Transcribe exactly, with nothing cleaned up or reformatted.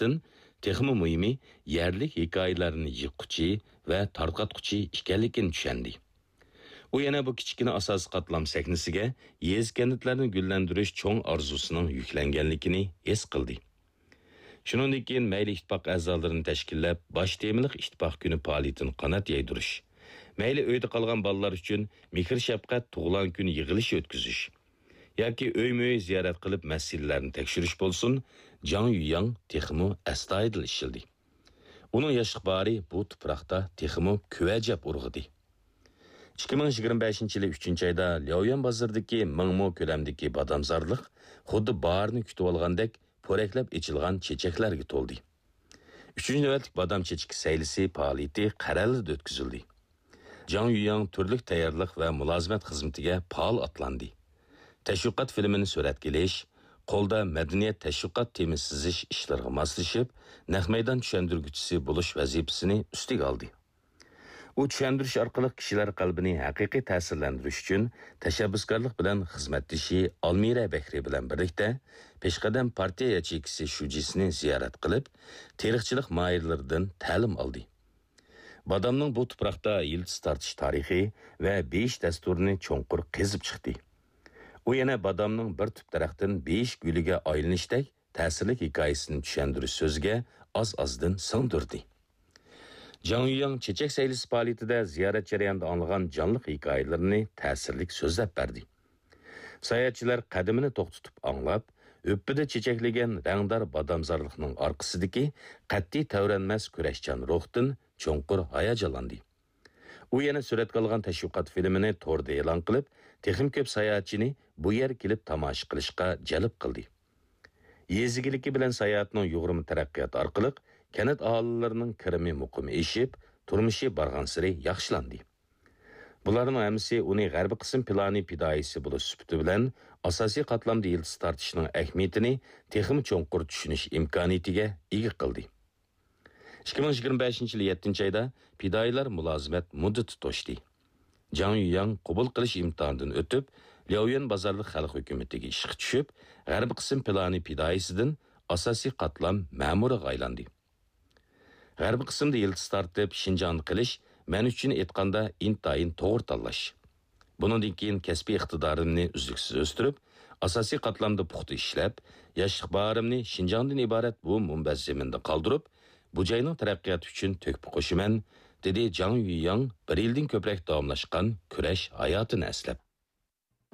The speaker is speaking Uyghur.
جەھەتتىن، تېخىمۇ مۇھىمى، يەرلىك ھېكايىلەرنى يىغقۇچى ۋە تارقاتقۇچى ئىكەنلىكىنى چۈشەندى. ئۇ يەنە بۇ كىچىككىنە ئاساسىي قاتلام سەھنىسىگە يېزا-كەنتلەرنى گۈللەندۈرۈش چوڭ ئارزۇسىنىڭ يۈكلەنگەنلىكىنى ھېس قىلدى. شۇنىڭدىن كېيىن مەيلى ئىتتىپاق ئەزالىرىنى تەشكىللەپ، باش تېمىلىق ئىتتىپاق كۈنى پائالىيىتىنى قانات يايدۇرۇش، مەيلى ئۆيدە قالغان بالىلار ئۈچۈن مېھىر-شەپقەت تۇغۇلغان كۈن يىغىلىشى ئۆتكۈزۈش ياكى ئۆيمۇ-ئۆي زىيارەت قىلىپ مەسىلىلەرنى تەكشۈرۈش بولسۇن، جاڭ يۈياڭ تېخىمۇ ئەستايىدىل ئىشلىدى. ئۇنىڭ ياشلىق باھارى بۇ تۇپراقتا تېخىمۇ كۆۋەجەپ ئۇرغۇدى. ئىككى مىڭ يىگىرمە بەشىنچى يىلى ئۈچىنچى ئايدا لياۋيۈەن بازىرىدىكى مىڭ مو كۆلەمدىكى بادامزارلىق خۇددى باھارنى كۈتۈۋالغاندەك پورەكلەپ ئېچىلغان چېچەكلەرگە تولدى. ئۈچىنچى نۆۋەتلىك بادام چېچىكى سەيلىسى پائالىيىتى قەرەلىدە ئۆتكۈزۈلدى. جاڭ يۈياڭ تۈرلۈك تەييارلىق ۋە مۇلازىمەت خىزمىتىگە پائال ئاتلاندى. تەشۋىقات فىلىمىنى سۈرەتكە ئېلىش، قولدا مەدەنىيەت تەشۋىقات تېما سىزىش ئىشلىرىغا ماسلىشىپ، نەق مەيدان چۈشەندۈرگۈچىسى بولۇش ۋەزىپىسىنى ئۈستىگە ئالدى. ئۇ چۈشەندۈرۈش ئارقىلىق كىشىلەر قەلبىنى ھەقىقىي تەسىرلەندۈرۈش ئۈچۈن تەشەببۇسكارلىق بىلەن خىزمەتدىشى ئالمىرە بەكرى بىلەن بىرلىكتە پېشقەدەم پارتىيە ياچېيكىسى شۇجىسىنى زىيارەت قىلىپ، تېرىقچىلىق ماھىرلىرىدىن تەلىم ئالدى. بادامنىڭ بۇ تۇپراقتا يىلتىز تارتىش تارىخى ۋە بېيىش دەستۇرىنى چوڭقۇر قېزىپ چىقتى. ئۇ يەنە بادامنىڭ بىر تۈپ دەرەختىن بېيىش گۈلىگە ئايلىنىشتەك تەسىرلىك ھېكايىسىنى چۈشەندۈرۈش سۆزىگە ئاز-ئازدىن سىڭدۈردى. جاڭ يۈياڭ چېچەك سەيلىسى پائالىيىتىدە زىيارەت جەريانىدا ئاڭلىغان جانلىق ھېكايىلىرىنى تەسىرلىك سۆزلەپ بەردى. ساياھەتچىلەر قەدىمىنى توختىتىپ ئاڭلاپ، ھۈپپىدە چېچەكلىگەن رەڭدار بادامزارلىقنىڭ ئارقىسىدىكى قەتئىي تەۋرەنمەس كۈرەشچان روھتىن چوڭقۇر ھاياجانلاندى. ئۇ يەنە سۈرەتكە ئالغان تەشۋىقات فىلىمىنى توردا ئېلان قىلىپ، تېخىمۇ كۆپ ساياھەتچىنى بۇ يەرگە كېلىپ تاماشا قىلىشقا جەلپ قىلدى. يېزا ئىگىلىكى بىلەن ساياھەتنىڭ يۇغۇرما تەرەققىياتى ئارقىلىق كەنت ئاھالىلىرىنىڭ كىرىمى مۇقىم ئېشىپ، تۇرمۇشى بارغانسېرى ياخشىلاندى. بۇلارنىڭ ھەممىسى ئۇنى غەربىي قىسىم پىلانى پىدائىيسى بولۇش سۈپىتى بىلەن ئاساسىي قاتلامدا يىلتىز تارتىشنىڭ ئەھمىيىتىنى تېخىمۇ چوڭقۇر چۈشىنىش ئىمكانىيىتىگە ئىگە قىلدى. ئىككى مىڭ يىگىرمە بەشىنچى يىلى يەتتىنچى ئايدا پىدائىيلار مۇلازىمەت مۇددىتى توشتى. جاڭ يۈياڭ قوبۇل قىلىش ئىمتىھانىدىن ئۆتۈپ، لياۋيۈەن بازارلىق خەلق ھۆكۈمىتىگە ئىشقا چۈشۈپ، غەربىي قىسىم پىلانى پىدائىيسىدىن ئاساسىي قاتلام مەمۇرىغا ئايلاندى. غەربىي قىسىمدا يىلتىز تارتىپ، شىنجاڭدا قېلىش مەن ئۈچۈن ئېيتقاندا ئىنتايىن توغرا تاللاش. بۇنىڭدىن كېيىن كەسپىي ئىقتىدارىمنى ئۈزلۈكسىز ئۆستۈرۈپ، ئاساسىي قاتلامدا پۇختا ئىشلەپ، ياشلىق باھارىمنى شىنجاڭدىن ئىبارەت بۇ مۇنبەت زېمىندا قالدۇرۇپ، بۇ جاينىڭ تەرەققىياتى ئۈچۈن تۆھپە قوشىمەن، دېدى جاڭ يۈياڭ بىر يىلدىن كۆپرەك داۋاملاشقان كۈرەش ھاياتىنى ئەسلەپ.